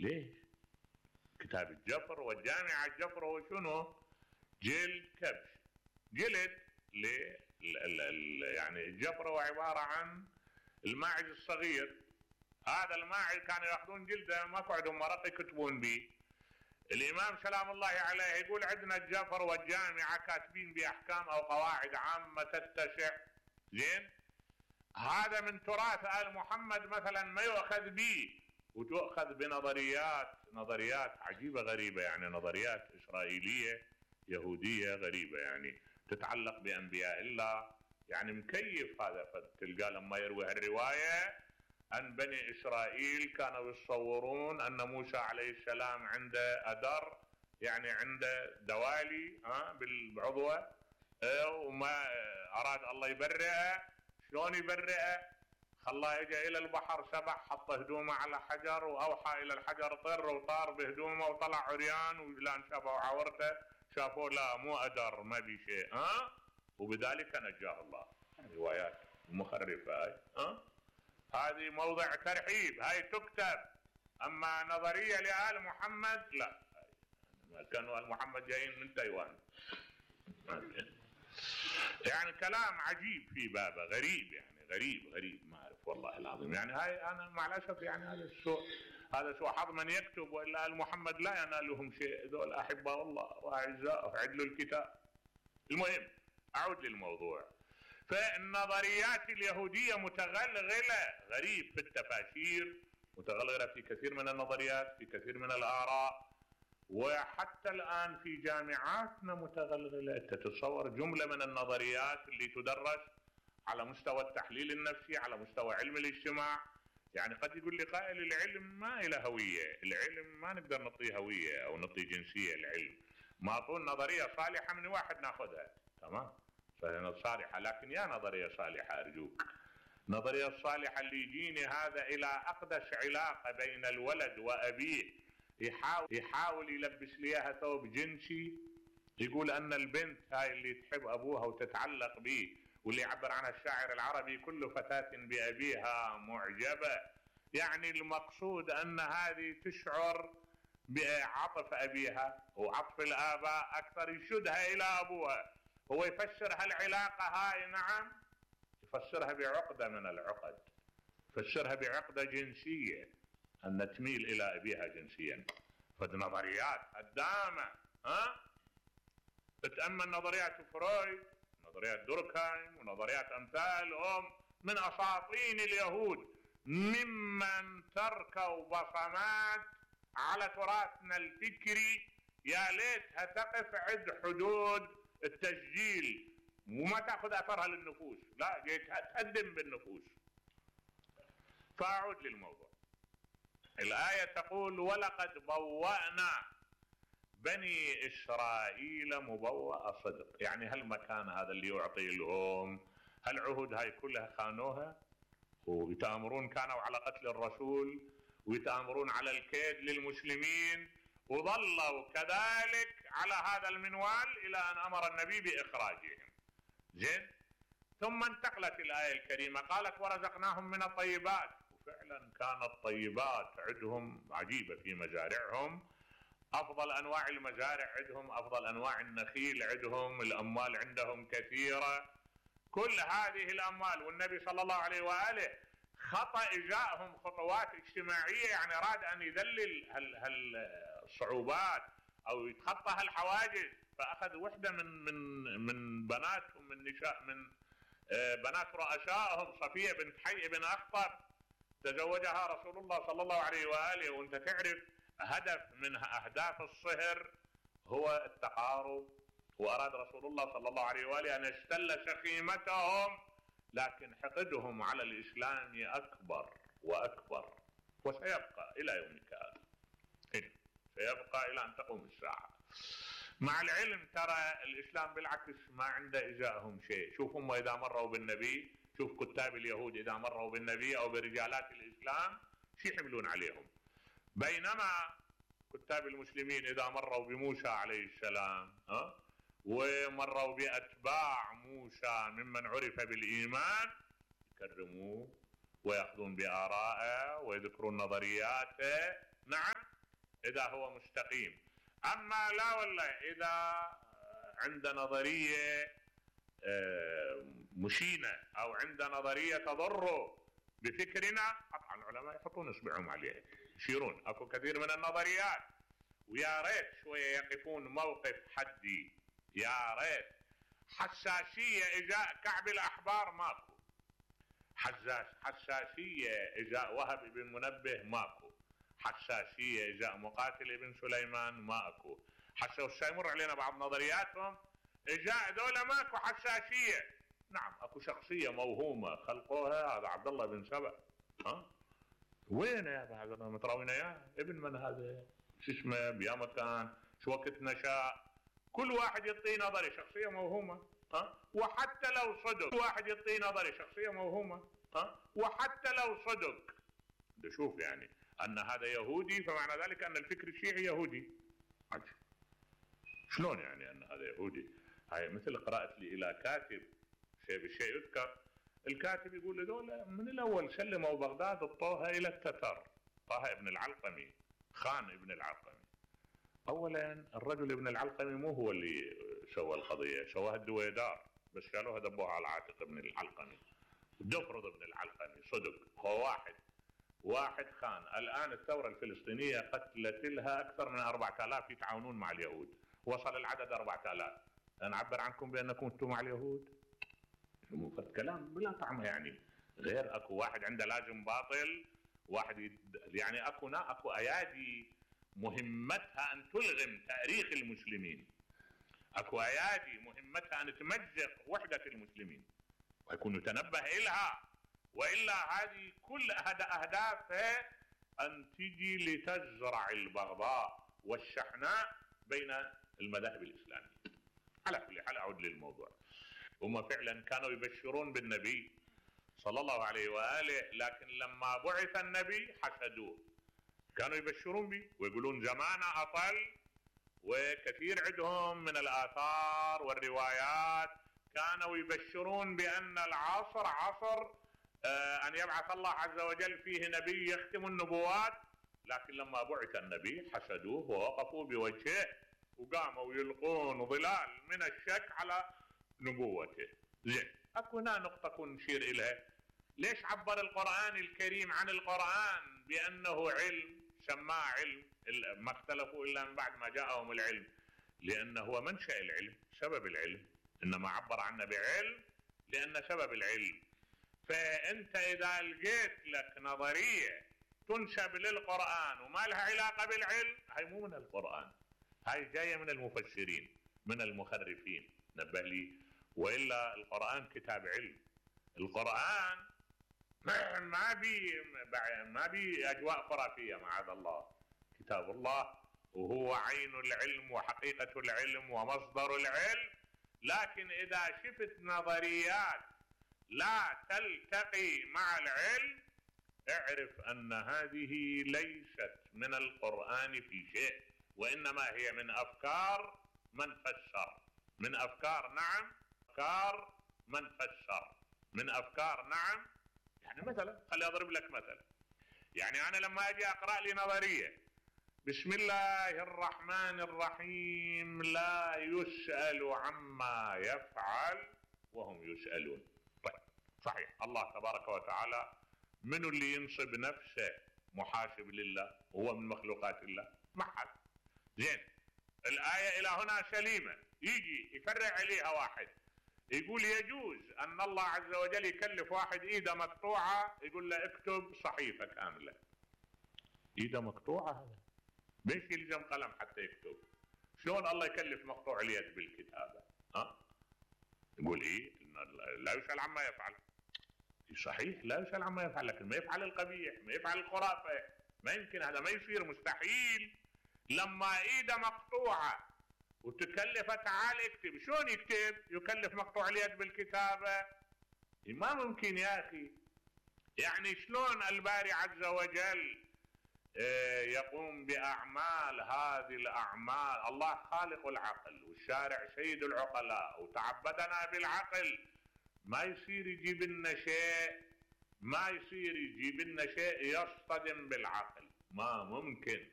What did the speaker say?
ليش؟ كتاب الجفر والجامعة الجفر هو شنو؟ جلد كبش، جلد يعني الجفر هو عبارة عن الماعز الصغير. هذا الماعز كانوا ياخذون جلده ما عندهم مرق يكتبون به. الامام سلام الله عليه يقول عندنا الجفر والجامعة كاتبين باحكام او قواعد عامة تتسع. زين؟ هذا من تراث آل محمد مثلا ما يؤخذ به، وتؤخذ نظريات عجيبة غريبة، يعني نظريات إسرائيلية يهودية غريبة يعني تتعلق بأنبياء الله، يعني مكيف هذا. فتلقى لما يروي الرواية أن بني إسرائيل كانوا يتصورون أن موسى عليه السلام عنده أدر، يعني عنده دوالي بالعضوة، وما أراد الله يبرئه. شلون يبرئه؟ خلاه يجي إلى البحر، سبح، حط هدومه على حجر وأوحى إلى الحجر طر، وطار بهدومه وطلع عريان، ولان شافوا عورته شافوا لا مو أدر ما بي شيء، وبذلك نجاه الله. روايات مخرفة هذه موضع ترحيب، هاي تكتب. أما نظرية لآل محمد لا، كانوا آل محمد جايين من تايوان. يعني كلام عجيب في بابه، غريب، يعني غريب ما أعرف والله العظيم. يعني هاي أنا مع الأسف يعني هذا سوء حظ من يكتب، وإلا آل محمد لا ينالهم شيء، ذول أحباء الله وأعزاء عدلوا الكتاب. المهم أعود للموضوع. فالنظريات اليهودية متغلغلة غريب في التفاسير، متغلغلة في كثير من النظريات، في كثير من الآراء، وحتى الآن في جامعاتنا متغلغلة. تتصور جملة من النظريات اللي تدرس على مستوى التحليل النفسي، على مستوى علم الاجتماع. يعني قد يقول لي قائل العلم ما له هوية، العلم ما نقدر نعطيه هوية أو نعطي جنسية. العلم معطون نظرية صالحة من واحد ناخذها، تمام، فهي صالحة، لكن يا نظرية صالحة أرجوك، نظرية الصالحة اللي يجيني هذا إلى أقدس علاقة بين الولد وأبيه، يحاول يلبس ليها ثوب جنسي، يقول أن البنت هاي اللي تحب أبوها وتتعلق به، واللي يعبر عنها الشاعر العربي كل فتاة بأبيها معجبة. يعني المقصود أن هذه تشعر بعطف أبيها وعطف الآباء أكثر، يشدها إلى أبوها. هو يفسر هالعلاقة هاي، نعم، يفسرها بعقدة من العقد، يفسرها بعقدة جنسية، أن تميل إلى أبيها جنسيا. فالنظريات هدامة. تتأمل نظريات فرويد، نظريات دوركهايم، ونظريات أمثالهم من أساطين اليهود، ممن تركوا بصمات على تراثنا الفكري يا ليتها تقف عند حدود التسجيل وما تأخذ أثرها للنفوس، لا تهدم بالنفوس. فأعود للموضوع. الآية تقول ولقد بوأنا بني إسرائيل مبوأ صدق. يعني هالمكان هذا اللي يعطي لهم هالعهود هاي كلها خانوها، ويتآمرون كانوا على قتل الرسول، ويتآمرون على الكيد للمسلمين، وظلوا كذلك على هذا المنوال إلى أن أمر النبي بإخراجهم. زين؟ ثم انتقلت الآية الكريمة قالت ورزقناهم من الطيبات. وفعلا كانت طيبات عندهم عجيبة في مزارعهم، أفضل أنواع المزارع عندهم، أفضل أنواع النخيل عندهم، الأموال عندهم كثيرة، كل هذه الأموال. والنبي صلى الله عليه وآله خطأ إجاءهم خطوات اجتماعية، يعني أراد أن يذلل الصعوبات أو يتخطى هالحواجز، فأخذ وحدة من بناتهم، من بنات رؤسائهم، صفية بنت حي بن أخطب، تزوجها رسول الله صلى الله عليه وآله. وانت تعرف هدف من أهداف الصهر هو التقارب، وأراد رسول الله صلى الله عليه وآله أن يستل شخيمتهم، لكن حقدهم على الإسلام أكبر وأكبر، وسيبقى إلى يومك هذا، سيبقى إلى أن تقوم الساعة. مع العلم ترى الإسلام بالعكس ما عنده إجاءهم شيء. شوف هم إذا مروا بالنبي، شوف كتاب اليهود إذا مروا بالنبي أو برجالات الإسلام شو يحملون عليهم، بينما كتاب المسلمين إذا مروا بموسى عليه السلام ومروا بأتباع موسى ممن عرف بالإيمان يكرموه ويأخذون بآرائه ويذكرون نظرياته، نعم، اذا هو مستقيم. اما لا والله اذا عند نظريه مشينه او عند نظريه تضر بفكرنا، طبعا العلماء يحطون اصبعهم عليه يشيرون. اكو كثير من النظريات ويا ريت شويه يقفون موقف حدي، يا ريت. حساسيه ازاء كعب الاحبار ماكو، حساسيه ازاء وهب بن منبه ماكو، حساسيه ازاء مقاتل بن سليمان ماكو. حتى يمر علينا بعض نظرياتهم ازاء ذولا ماكو حساسيه. نعم اكو شخصيه موهومه خلقوها، هذا عبد الله بن سبأ. وين يا هذا متراوينا اياه؟ ابن من هذا؟ شو اسمه؟ بيا مكان؟ شو وقت نشا؟ كل واحد يعطي نظري شخصيه موهومه. وحتى لو صدق كل واحد يعطي نظري شخصيه موهومه. وحتى لو صدق شوف يعني ان هذا يهودي فمعنى ذلك ان الفكر الشيعي يهودي. عجب. شلون يعني ان هذا يهودي؟ هاي مثل قرأت لي الى كاتب شيء بالشيء يذكر، الكاتب يقول هذول من الاول سلموا بغداد اعطوها الى التتر، طه ابن العلقمي، خان ابن العلقمي. اولا الرجل ابن العلقمي مو هو اللي سوى القضيه، سواها الدويدار، بس شالوها دبوها على عاتق ابن العلقمي. دفرض ابن العلقمي صدق هو واحد خان. الان الثوره الفلسطينيه قتلت لها اكثر من 4000 يتعاونون مع اليهود، وصل العدد 4000. نعبر عنكم بانكم انتم مع اليهود؟ كلام بلا طعم يعني. غير اكو واحد عنده لازم باطل، واحد يعني اكو ايادي مهمتها ان تلغم تاريخ المسلمين، اكو ايادي مهمتها ان تمزق وحده المسلمين ويكون يتنبه الها، والا هذه كل اهدافها ان تجي لتزرع البغضاء والشحناء بين المذاهب الاسلاميه. على كل حال اعود للموضوع. هم فعلا كانوا يبشرون بالنبي صلى الله عليه واله، لكن لما بعث النبي حسدوه. كانوا يبشرون به ويقولون زمانه اطل، وكثير عندهم من الاثار والروايات كانوا يبشرون بان العصر عصر ان يبعث الله عز وجل فيه نبي يختم النبوات. لكن لما بعث النبي حسدوه ووقفوا بوجهه وقاموا يلقون ظلال من الشك على نبوته. زين، اكو هنا نقطة نشير اليها. ليش عبر القرآن الكريم عن القرآن بأنه علم، سماه علم؟ ما اختلفوا إلا من بعد ما جاءهم العلم، لأنه هو منشأ العلم، سبب العلم، إنما عبر عنه بعلم لأن سبب العلم. فأنت إذا لقيت لك نظرية تنسب للقرآن وما لها علاقة بالعلم، هاي مو من القرآن، هاي جاية من المفسرين، من المخرفين. نبه لي، وإلا القرآن كتاب علم. القرآن ما بي أجواء خرافية معاذ الله. كتاب الله وهو عين العلم وحقيقة العلم ومصدر العلم. لكن إذا شفت نظريات لا تلتقي مع العلم، اعرف أن هذه ليست من القرآن في شيء، وإنما هي من أفكار من فسر، من أفكار، نعم، أفكار من فسر، من أفكار، نعم. يعني مثلا خلي أضرب لك مثلا. يعني أنا لما أجي أقرأ لي نظرية بسم الله الرحمن الرحيم لا يسأل عما يفعل وهم يسألون. طيب صحيح، الله تبارك وتعالى من اللي ينصب نفسه محاسب لله؟ هو من مخلوقات الله؟ ما حد. زين، الآية إلى هنا سليمة. يجي يفرع عليها واحد يقول يجوز أن الله عز وجل يكلف واحد إيده مقطوعة، يقول له اكتب صحيفة كاملة. إيده مقطوعة هذا بيش يلزم قلم حتى يكتب؟ شلون الله يكلف مقطوع اليد بالكتابة؟ يقول إيه؟ لا يسأل عما يفعل. صحيح لا يسأل عما يفعل، لكن ما يفعل القبيح، ما يفعل الخرافة، ما يمكن، هذا ما يصير، مستحيل. لما إيده مقطوعة وتكلف تعال اكتب، شلون يكتب؟ يكلف مقطوع اليد بالكتابة؟ ما ممكن يا أخي. يعني شلون الباري عز وجل يقوم بأعمال هذه الأعمال؟ الله خالق العقل والشارع سيد العقلاء وتعبدنا بالعقل. ما يصير يجيب لنا شيء، ما يصير يجيب لنا شيء يصطدم بالعقل، ما ممكن.